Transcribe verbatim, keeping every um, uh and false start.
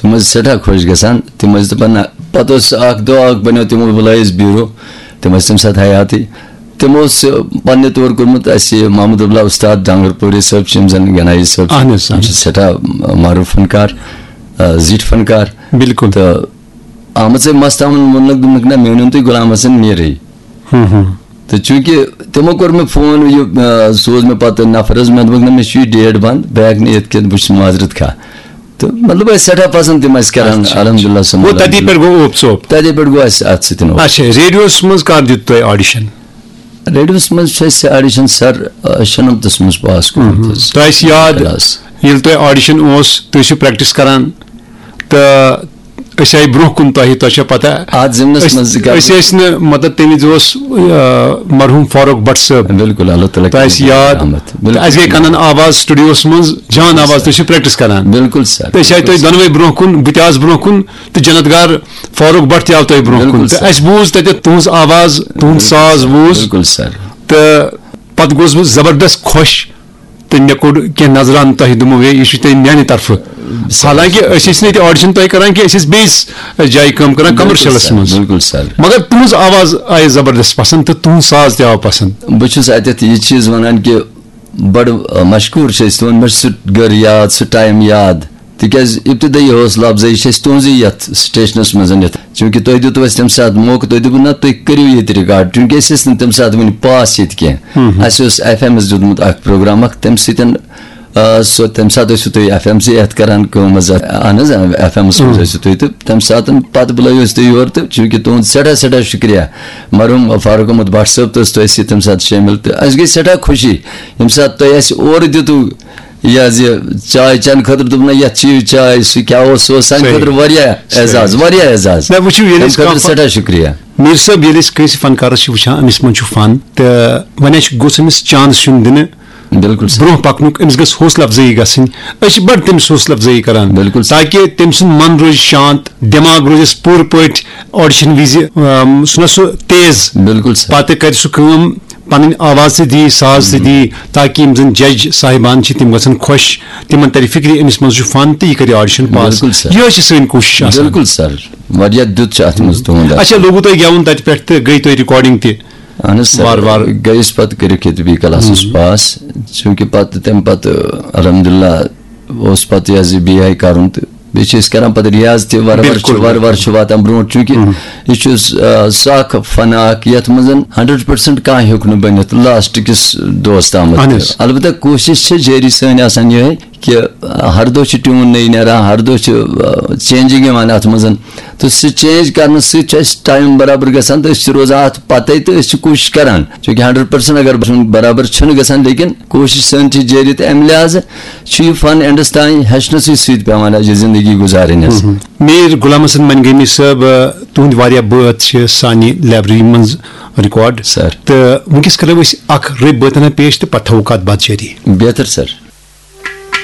تِم ٲسۍ سٮ۪ٹھاہ خۄش گژھان۔ تِم ٲسۍ دَپان، نہ، پَتہٕ اوس اَکھ دۄہ اَکھ بَنیو، تِمو بُلٲیِس بیٖرو، تِم ٲسۍ تَمہِ ساتہٕ حیاتٕے۔ تِمو اوس، آ، پننہِ طور کوٚرمُت اَسہِ محمد عبداللہ اُستاد ڈانگرپوٗری صٲب چھِ، یِم زَن گنایی صٲب چھِ۔ اہن حظ، تِم چھِ اہن حظ۔ سٮ۪ٹھاہ، آ، معروٗف فنکار، آ، زِٹھۍ فنکار۔ بِلکُل۔ تہٕ آمٕژ أمۍ مستاوَن ووٚنُکھ، دوٚپُکھ، نہ، مےٚ ؤنِو تُہۍ غلام حسن میٖرٕے۔ ہُم، ہُم۔ تہٕ چوٗنٛکہِ تِمو کوٚر مےٚ فون، یہِ، آ، سوٗز مےٚ پَتہٕ نفر حظ، مےٚ دوٚپُکھ، نہ، مےٚ چھُ یہِ ڈیٹ بنٛد، بہٕ ہٮ۪کہٕ نہٕ یِتھ کینٛہہ، بہٕ چھُس معذرت خواہ۔ تہٕ مطلب، ٲسۍ سٮ۪ٹھاہ پسنٛد تِم اَسہِ کران، اچھا۔ الحمدُدللہ ثم گوٚو تَتی الحمدللہ۔ پٮ۪ٹھ گوٚو اوپ ژوپ۔ تَتے پٮ۪ٹھ گوٚو اَسہِ اَتھ سۭتۍ اوپ۔ اچھا، ریڈیوَس منٛز کر دیُت تۄہہِ آڈیشن؟ ریڈیوَس منٛز چھُ اَسہِ آڈیشن سر، آ، شُنَمتَس منٛز پاس کوٚرمُت حظ۔ تۄہہِ آسہِ یاد، کلاس۔ ییٚلہِ تۄہہِ آڈیشن اوس، تُہۍ ٲسِو پریکٹس کران، تہٕ أسۍ آیہِ برونٛہہ کُن تۄہہِ، تۄہہِ چھا پتہ؟ اَتھ ضِمنَس أسۍ، منٛز کَرٕ أسۍ ٲسۍ نہٕ، مطلب، تَمہِ وِزِ اوس، آ، مرحوٗم فاروق بٹ صٲب۔ بِلکُل، اللہ تعالیٰ تۄہہِ آسہِ کٔرِنۍ یاد، رحمت۔ بِلکُل۔ تہٕ اَسہِ گٔے کنن آواز، سٹوڈیوَس منٛز جان آواز، تُہۍ چھِو پریکٹس کران۔ بِلکُل سر، تہٕ أسۍ آیہِ بِلکُل تۄہہِ سر۔ دۄنوَے برونٛہہ کُن، بہٕ تہِ آس برونٛہہ کُن، تہٕ جنت گار فاروق بٹ تہِ آو تۄہہِ برونٛہہ بِلکُل کُن۔ تہٕ سر۔ اَسہِ بوٗز تَتٮ۪تھ تُہٕنٛز آواز، تُہُنٛد بِلکُل ساز سر، بوٗز۔ بِلکُل سر۔ تہٕ پتہٕ گوس بہٕ زبردست خۄش، تہٕ مےٚ کوٚڑ کینٛہہ نظرانہٕ تۄہہِ، دوٚپمو، ہے، یہِ چھُ تۄہہِ میانہِ طرفہٕ۔ سر۔ حالانکہِ أسۍ ٲسۍ نہٕ ییٚتہِ آڈیشن تۄہہِ کران کینٛہہ، أسۍ ٲسۍ بیٚیِس، ٲ، جایہِ کٲم کران، بِلکُل کمرشلس سر، منٛز۔ بِلکُل سر۔ مگر تُہٕنٛز آواز آیہِ زبردست پسند تہٕ تُہُنٛد ساز تہِ آو پسند۔ بہٕ چھُس اَتٮ۪تھ یہِ چیٖز وَنان کہِ بَڑٕ، آ، مشکوٗر چھِ أسۍ تُہُنٛد، مےٚ چھُ سُہ گٔر یاد، سُہ ٹایم یاد، تِکیٛازِ ابتدٲیی حوصلہٕ افزٲیی چھِ أسۍ تُہٕنٛزٕے یَتھ سٹیشنَس منٛز یَتھ، چوٗنٛکہِ تۄہہِ دیُتوُ اَسہِ تَمہِ ساتہٕ موقعہٕ، تُہۍ دوٚپوُ، نہ، تُہۍ کٔرِو ییٚتہِ ریکارڈ، چوٗنٛکہِ أسۍ ٲسۍ نہٕ تَمہِ ساتہٕ وٕنہِ پاس ییٚتہِ کینٛہہ۔ ہُم، ہُم۔ اَسہِ اوس ایف ایمَس دیُتمُت اَکھ پروگرام اَکھ، تَمہِ سۭتۍ، آ، سُہ، تَمہِ ساتہٕ ٲسِو تُہۍ ایف ایم سٕے یَتھ کَران کٲم حظ، اَتھ، اَہَن حظ، ایف ایمَس منٛز اۭں۔ ٲسِو تُہۍ، تہٕ تَمہِ ساتہٕ پَتہٕ بُلٲیِو أسۍ تُہۍ یور، تہٕ چوٗنٛکہِ تُہُنٛد سٮ۪ٹھاہ، سٮ۪ٹھاہ شُکریہ، مرحوٗم فاروق احمد بٹ صٲب تہٕ ٲس تۄہہِ سۭتۍ تَمہِ ساتہٕ شٲمِل، تہٕ اَسہِ گٔے سٮ۪ٹھاہ خوشی ییٚمہِ ساتہٕ تۄہہِ اَسہِ اورٕ دیُتوُ یہِ حظ یہِ چاے چٮ۪نہٕ خٲطرٕ، دوٚپُن، نہ، یَتھ چیٚیِو چاے، سُہ کیٛاہ اوس، سُہ اوس سانہِ صحیح۔ خٲطرٕ واریاہ صحیح۔ اعزاز، واریاہ اعزاز۔ نہ، وٕچھِو، ییٚلہِ تَمہِ أسۍ خٲطرٕ کانٛہہ سٮ۪ٹھاہ شُکریہ۔ میٖر صٲب، ییٚلہِ أسۍ کٲنٛسہِ فنکارس چھِ وٕچھان، أمِس منٛز چھُ فن، تہٕ وۄنۍ اَسہِ گوٚژھ أمِس چانس یُن دِنہٕ۔ بِلکُل سر۔ برونٛہہ پکنُک، أمِس گٔژھ حوصلہٕ افزٲیی گژھٕنۍ۔ أسۍ چھِ بڑٕ تٔمِس حوصلہٕ افزٲیی کران، بِلکُل سر۔ تاکہِ تٔمۍ سُنٛد من روزِ شانت، دٮ۪ماغ روزٮ۪س پوٗرٕ پٲٹھۍ آڈیشن وِزِ، اَم، سُہ نہ سُہ تیز۔ بِلکُل سر۔ پتہٕ کرِ سُہ کٲم، پنٕنۍ آواز تہِ دی، ساز تہِ دی، تاکہِ یِم زن جج صاحبان چھِ، تِم گژھن خۄش، تِمن ترِ فکرِ، أمِس منٛز چھُ فن تہٕ یہِ کرِ آڈیشن پاس۔ بِلکُل سر۔ یِہوٚے چھِ سٲنۍ کوٗشش آسان۔ بِلکُل سر۔ واریاہ دیُت چھُ اتھ منٛز تُہُنٛد اَتھ۔ اچھا، لوگوُ تۄہہِ گٮ۪وُن تَتہِ پٮ۪ٹھ تہٕ گٔے تُہۍ ریکارڈنگ تہِ؟ اہن حظ سر۔ وارٕ وارٕ۔ گٔیَس پتہٕ کٔرِتھ ییٚتہِ بی کلاسس پاس، چوٗنٛکہِ پتہٕ، تَمہِ پتہٕ، الحمدللہ، اوس پتہٕ یہِ حظ یہِ بی آی کرُن تہٕ بیٚیہِ چھِ أسۍ کران پتہٕ ریاض تہِ، وارٕ وارٕ چھُ، بِلکُل، وارٕ وارٕ بِلکُل۔ چھُ واتان برونٛٹھ، چوٗنٛکہِ یہِ چھُ، آ، سُہ اکھ فن اکھ یتھ منٛز ہنڈریڈ پرسنٹ کانٛہہ ہیوٚک نہٕ بٔنِتھ لاسٹ کِس دۄہس تامتھ اہن تہِ۔ حظ۔ البتہ کوٗشش چھِ جٲری سٲنۍ آسان یِہے کہِ ہر دۄہ چھِ ٹیوٗن نٔے نیران، ہر دۄہ چھِ، آ، چینجنگ یِوان اتھ منٛز، تہٕ سُہ چینج کرنہٕ سۭتۍ چھُ اَسہِ ٹایم برابر گژھان تہٕ أسۍ چھِ روزان اتھ پتے تہٕ أسۍ چھِ کوٗشش کران، چوٗنٛکہِ ہنڈریڈ پرسنٹ اگر برابر چھُنہٕ گژھان، لیکن کوٗشِش سٲنۍ چھِ جٲری، تہٕ اَمہِ لحاظہٕ چھُ یہِ فن اینڈس تام ہیٚچھنَسٕے سۭتۍ پٮ۪وان اَسہِ زِندگی گُزارٕنۍ حظ۔ مہم۔ میٖر غلام حسن منگٲمی صٲب، آ، تُہٕنٛدۍ واریاہ بٲتھ چھِ سانہِ لایبریری منٛز ریکارڈ۔ سر۔ تہٕ وٕنکیٚس کرو أسۍ اکھ رٕتۍ بٲتھنا پیش تہٕ پتہٕ تھاوو کتھ باتھ جٲری۔ بہتر سر۔